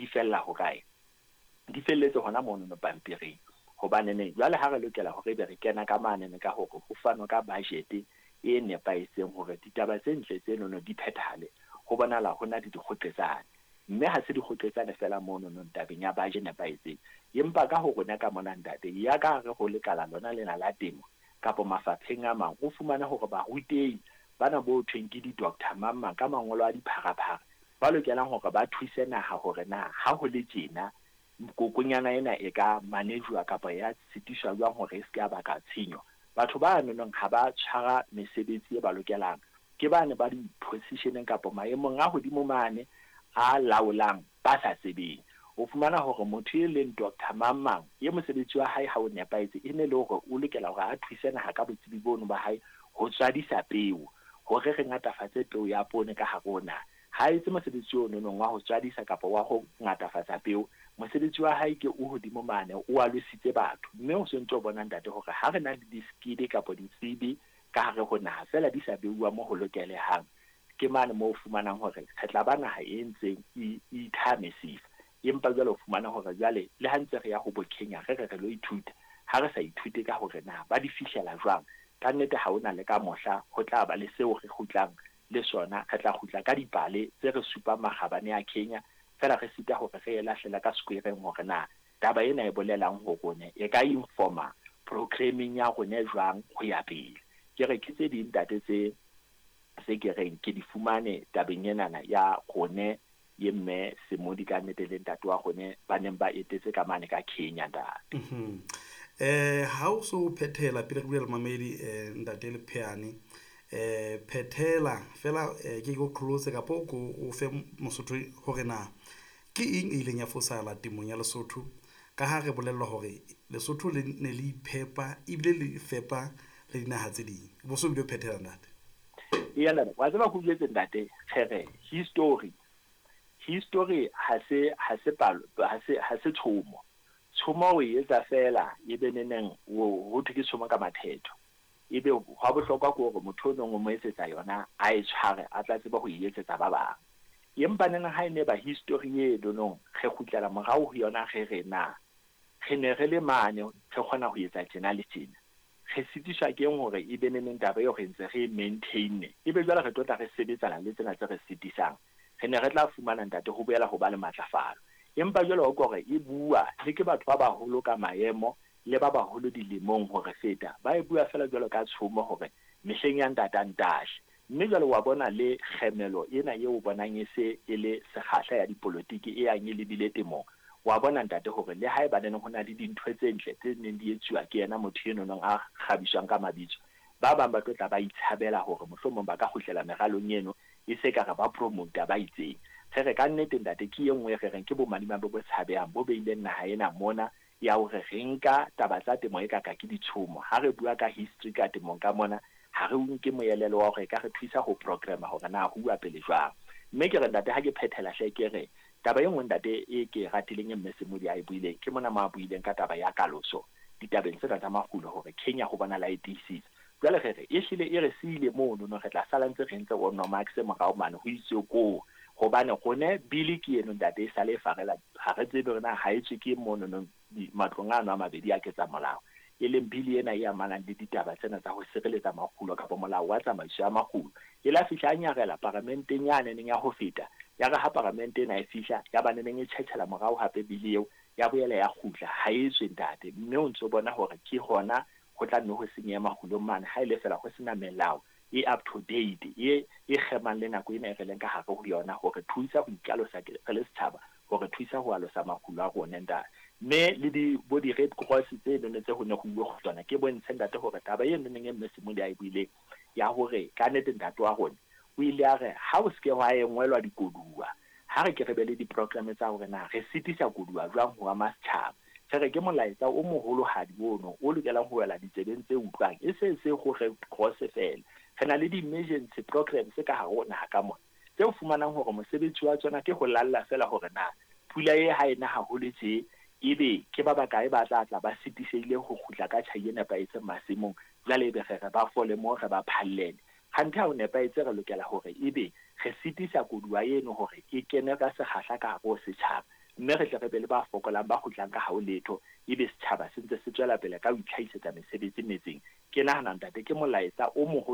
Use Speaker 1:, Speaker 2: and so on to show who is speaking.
Speaker 1: Di fella hokae? Di felletse hona monono pampiring. Hobaneneng jwale ha re lokela hore ebe re kena ka manene ka hore ho fanwe ka budget e nepahetseng hore ditaba tse ntle tsenono di phethahale, ho bonahala ho na le dikgoqetsane. Mme ha se dikgoqetsane feela monono tabeng ya budget e nepahetseng, empa ka ho rona ka mona ntate, ya ka hare ho lekala lona lena la temo kapa mafapheng a mang, o fumane hore barutehi bana bo thweng ke di-doctor mang mang ka mangolo a dipharaphara ba lokelang hore ba thuse naha hore na ha ho le tjena kokonyana ena e ka manejwa kapa ya sitiswa jwang hore e se ke ya baka tshenyo. Batho ba nonong ha ba tshwara mesebetsi e ba lokelang, ke bane ba di-positioneng kapa maemong a hodimo mane a laolang ba sa tsebeng. O fumana hore motho e leng doctor mang mang e mosebetsi wa hae ha o nepahetse, e ne le hore o lokela hore a thuse naha ka botsebi bono ba hae ho tswadisa peo, hore re ngatafatse peo ya poone ka hare ho naha. Ha etse mosebetsi o nonong wa ho tswadisa kapa wa ho ngatafatsa peo, mosebetsi wa hae ke o hodimo mane, o alositse batho. Mme o sontso o bona ntate hore ha re na le di-skill kapa ditsebi ka hare ho naha feela di sa beuwa mo ho lokelehang, ke mane moo o fumanang hore re tla ba naha e ntseng e ithaha mesifa. Empa jwale o fumana hore jwale le ha ntse re ya ho bo Kenya re re re lo ithuta, ha re sa ithute ka hore na ba di fihlela jwang, ka nnete ha hona le ka mohla ho tla ba le seo re kgutlang le sona. Re tla kgutla ka dipale tse re supang makgabane a Kenya, feela re sita hore re e lahlela ka square-eng hore na taba ena e bolelang ho rone, e ka informa programming ya rone jwang ho ya pele. Ke re ke tse ding ntate tse se ke reng ke di fumane tabeng enana ya rone ye mme Semodi ka nnete le ntate wa rone ba neng ba etetse ka mane ka Kenya ntate.
Speaker 2: Ha o so phethela pele re bua le mamedi, ntate Lepheane, phethela fela, ke go close kapa o ko o fe Mosotho hore na ke eng e ileng ya fosahala temong ya Lesotho, ka ha re bolellwa hore Lesotho le ne le iphepa ebile le fepa le dinaha tse ding. Bo so bile o phethela ntate.
Speaker 1: Eya ntate, wa tseba ho jwetse ntate, re history ha se palo, ha se tshomo. Tshomo o e etsa fela e be neneng ho thwe ke tshomo ka mathetho. Ebe hwa bohlokwa ke hore motho o nong o mo etsetsa yona a e tshware, a tla tseba ho e etsetsa ba bang. Empa neneng ha e ne ba history e nonong re kgutlela morao ho yona re re na re ne re le mane re kgona ho etsa tjena le tjena. Re sitiswa ke eng hore e be neneng taba eo re ntse re e maintain-e, ebe jwale re tlo tla re sebetsana le tsena tse re sitisang. Re ne re tla fumana ntate ho boela ho ba le matlafalo. Empa jwale o kore e bua le ke batho ba baholo ka maemo le ba baholo dilemong hore feta, ba e bua fela jwalo ka tshomo hore mehleng ya ntata ntashe. Mme jwale wa bona le kgemelo ena eo o bonang e se e le sekgahla ya dipolotiki e yang e lebile temong. Wa bona ntate hore le haeba neng ho na le dintho tse ntle tse neng di etsuwa ke yena motho eno nong a kgabiswang ka mabitso, ba bang ba tlo tla ba itshabela hore mohlomong ba ka kgutlela meralong eno e se ka re ba promota ba itseng. Re re ka nnete ntate ke e nngwe re reng ke bomadimabe bo tshabehang bo beileng naha ena mona ya hore re nka taba tsa temo e ka ka ke ditshomo. Ha re bua ka history ka temong ka mona, ha re nke moelelo wa hore e ka re thusa ho programma hore na ho uwa pele jwang. Mme ke re ntate ha ke phethela hle ke re taba e nngwe ntate e ke ratileng e mme Semodi a e buileng, ke mona mo a buileng ka taba ya kaloso ditabeng tsena tsa makgulo hore Kenya ho bona la e tiisitse. Jwale re re e hlile e re siile mono no re tla sala ntse re ntse o nomax morao mane ho itswe koo, hobane rone bili ke eno ntate e sale e farela, ha re tsebe hore na ha e tswe ke mono no matlong ano a mabedi a ketsa molao, e leng bili ena e amanang le ditaba tsena tsa ho sireletsa makgulo kapa molao wa tsamaiso ya makgulo. E la fihla a nyarela paramenteng ya neneng ya ho feta, ya re ha paramente ena e fihla ya ba neneng e tjhetjhela morao hape bili eo ya boela ya kgutla, ha e tswe ntate. Mme o ntso bona hore ke hona ho tla nne ho senyeha makgulong mane ha e le fela ho sena melao e up to date e kgemang le nako ena e re leng ka hare ho yona hore thusa ho ikalosa re le setjhaba, hore thusa ho alosa makgulo a rona ntate. Mme le di bo di Red Cross tse none tse ho ne ho uwe ho tsona, ke bontshe ntate hore taba e noneng e mme Semodi a e buileng ya hore ka nnete ntate wa rona o ile a re ha o se ke wa engwelwa dikoduwa, ha re ke re be le di-programme tsa hore na re sitisa koduwa jwang ho ama setjhaba. Re re ke molaetsa o moholohadi ono o lokelang ho wela ditsebeng tse utlwang, e se se ho Red Cross fela. Re na le di-emergency programs ka hare ho naha ka mona tse o fumanang hore mosebetsi wa tsona ke ho lalla fela hore na pula e ha ena haholo tje, ebe ke ba bakae ba tla tla ba sitisehile ho kgutla ka tjhai e nepahetseng masimong, jwale ebe re re ba fole moo re ba phallele. Kganthe ha o nepahetse re lokela hore ebe re sitisa koduwa eno hore e kene ka sekgahla ka hare ho setjhaba. Mme re tle re be le ba fokolang ba kgutlang ka hao letho, ebe setjhaba se ntse se tswela pele ka ho itlhahisetsa mesebetsi metseng. Ke nahana, ntate, ke molaetsa o moholo.